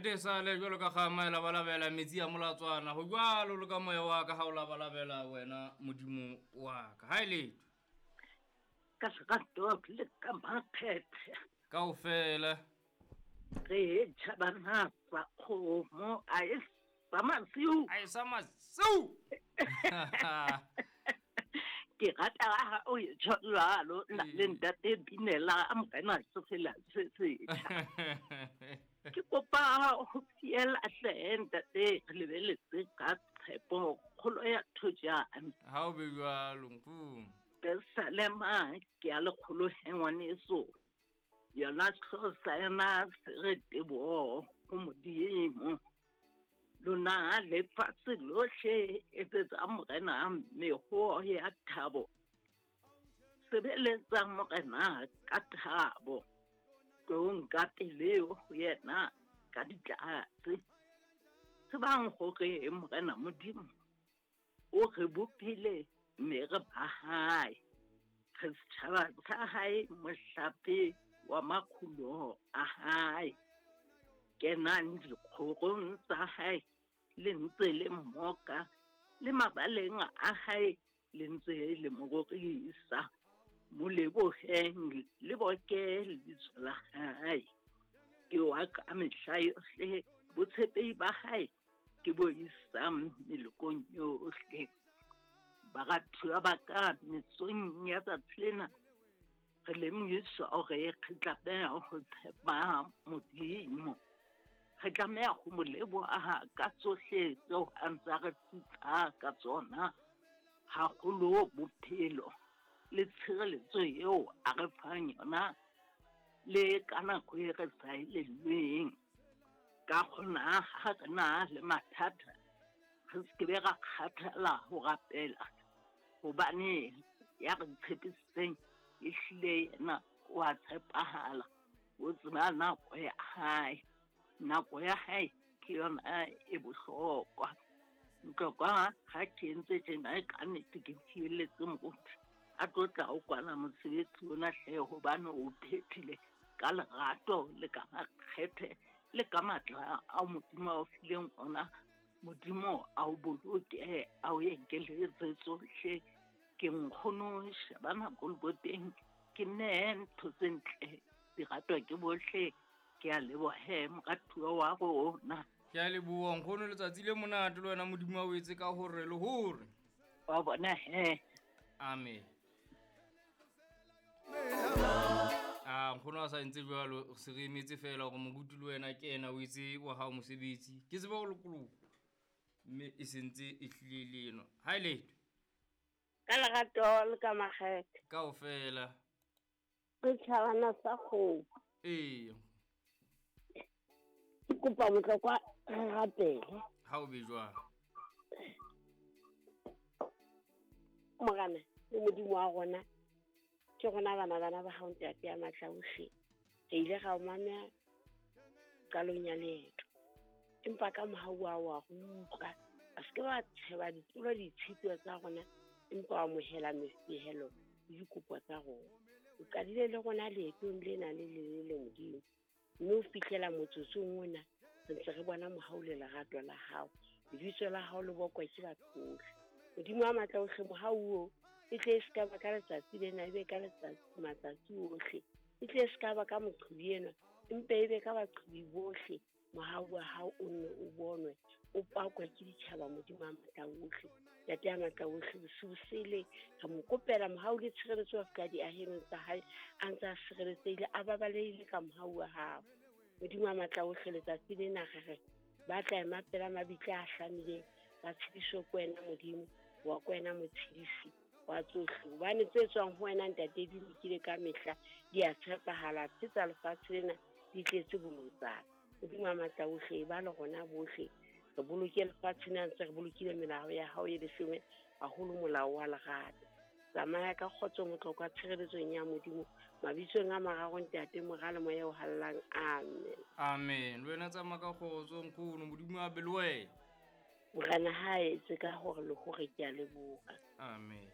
Nnete sale jwalo ka kgama e labalabela metsi a molatswana go jwalo le ka moya wa ka ga o labalabela wena modimo wa ka ga e letho Ka lerato le ka makgethe. Kaofela. Re tšhabana sa kgomo a e sa masiu. A e sa masiu. Ke rata ha o e tjho jwalo nna le ntate Binela a morena sefela se setjha. Ke kopa ho fiela hle ntate re lebeletse ka tshepo kgolo ya thojane. Ha o be jwalo nkgono. Pesalema ke ya lekgolo he ngwaneso. Yona sehlooho sa yona se re teboho ho Modimo. Lona lefatshe lohle etsetsa morena mehoho ya thabo. Sebeletsa morena ka thabo. Tloong ka pele ho yena ka ditlatse. Tsebang hore morena Modimo o re bopile mme re ba hae. Re setjhaba sa hae, mohlape wa makgulo a hae. Kenang dikgorong tsa hae le ntse le mmoka, le mabaleng a hae le ntse le mo rorisa. Mo leboheng le boke lebitso la hae. Ke wa ka mehla yohle, botshepehi ba hae ke bo isang melokong yohle. Baratuwa ba ka mesong ya tsatsi lena re lemohiswa hore re tlameha ho tshepa Modimo. Re tlameha ho mo leboha ka tsohle tseo a ntse a re putsa ka tsona, haholo bophelo le tshireletso eo a re fang yona le ka nako e re sa elellweng. Ka hona ha re na le mathata re se ke be ra kgathala ho rapela, hobane ya re tshepisitseng ehlile yena o a tshepahala, o tseba nako ya hae. Nako ya hae ke yona e bohlokwa. Ntlokwa ha ke entse tjena ka nnete ke fielletse moruti a tlo tla o kwala mosebetsi ona hle, hobane o phethile ka lerato le ka makgethe le ka matla ao Modimo a o fileng ona. Modimo a o boloke, a o ekeletse tsohle. Ke nkgono Shabana Koloboteng, ke nne ntho tse ntle di ratwa ke bohle. Ke a leboha moratuwa wa rona. Ke a leboha nkgono, letsatsi le monate le wena Modimo a o etse ka hore le hore. Wa bona he. Amen. A nkgono a sa entse jwalo, se re emetse fela hore moruti le wena ke ena o etse wa hao mosebetsi. Ke tseba ho lokoloha mme e sentse e hlile le eno. Ha e letho. Ka lerato le ka makgethe. Kaofela. Re tjhabana sa kgomo. Ee. Ke kopa motlokwa re rapele. Ha o be jwang? Morena le Modimo wa rona, ke rona bana bana ba hao ntate ya matla ohle. Re ile ra o mamela qalong ya leeto, empa ka mohau wa wa re utlwa. A se ke wa tsheba ditlolo ditshito tsa rona, empa wa amohela mefehelo le dikopo tsa rona. O qadile le rona leetong lena le lelele Modimo, mme o fihlela motsotsong ona re ntse re bona mohau le lerato la hao. Lebitso la hao le bokwa ke batho bohle. Modimo wa matla ohle, mohau oo e tle e se ka ba ka letsatsi lena, e be ka letsatsi matsatsi ohle. E tle e se ka ba ka moqhubi enwa, empa e be ka baqhubi bohle. Mohau wa hao o nne o bonwe, o pakwe ke ditjhaba Modimo wa matla ohle. Ntate ya matla ohle, bosiu sele re mo kopela mohau le tshireletso wa fihla diahelong tsa hae, a ntse a sireletsehile, a babalehile ka mohau wa hao. Modimo wa matla ohle, letsatsi lena re re ba tla ema pela mabitla a hlamileng, ba tshediswe ke wena Modimo, wa ke wena motshedisi wa tsohle. Hobane tse tswang ho wena ntate di lokile ka mehla, di a tshepahala, tse tsa lefatshe lena di tletse bolotsana. Modimo wa matla ohle, ba le rona bohle, re boloke lefatshe lena ntse re bolokile melao ya hao e leshome, haholo molao wa lerato. Tsamaya ka kgotso motlokwa tshireletsong ya Modimo, mabitsong a mararo ntate, Mora le Moya o hallang. Amen. Amen. Le wena tsamaya ka kgotso nkgono, Modimo a be le wena. Morena ha a etse ka hore le hore ke a leboha. Amen.